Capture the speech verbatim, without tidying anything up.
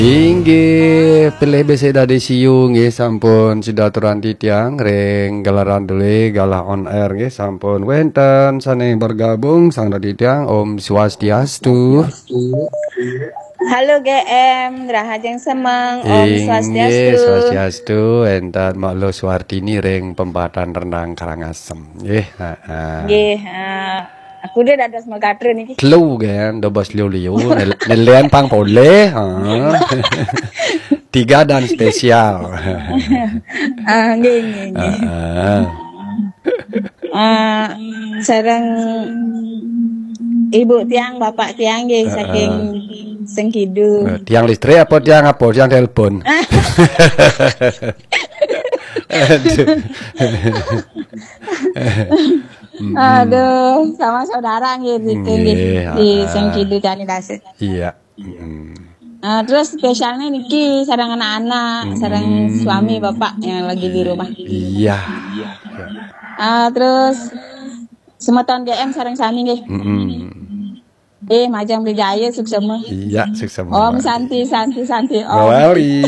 Inggih, pilih besik dadi siu nggih, sampun sida aturan titiang ring gelaran duli galah on air nggih, sampun wenten sane bergabung sang dadi tiang. Om Swastiastu. Halo G M, Rahajeng Semeng, Om Inggih, Swastiastu. Swastiastu, entan Mak Luh Suartini ring Pempatan Rendang Karangasem. Nggih, ha, ha. Nggih, ha. Aku dia dados megatra niki. Telu kan, dobos liu-liu, nel-, nelian pang polih, ha. Tiga dan spesial. Ah, nggih, nggih, nggih. Ha, ha. Ah, sareng ibu tiang, bapak tiang nggih, heeh, saking Sengkidu. Eh, tiang listrik apa tiang apa? Tiang telepon. Aduh. Mm-mm. Aduh, sama saudara nggih, niki nggih, nggih, di, ah, Sengkidu Candi Dasik. Iya. Mm-mm. Ah, terus spesialnya niki sareng anak-anak, sareng, mm-mm, suami bapak yang lagi di rumah. Iya. Ah, terus semeton G M sareng sami nggih. Mm-mm. Eh, Majeng Beli Jaya, suksema. Iya, suksema. Om Santi, Santi, Santi, Om. Mawali.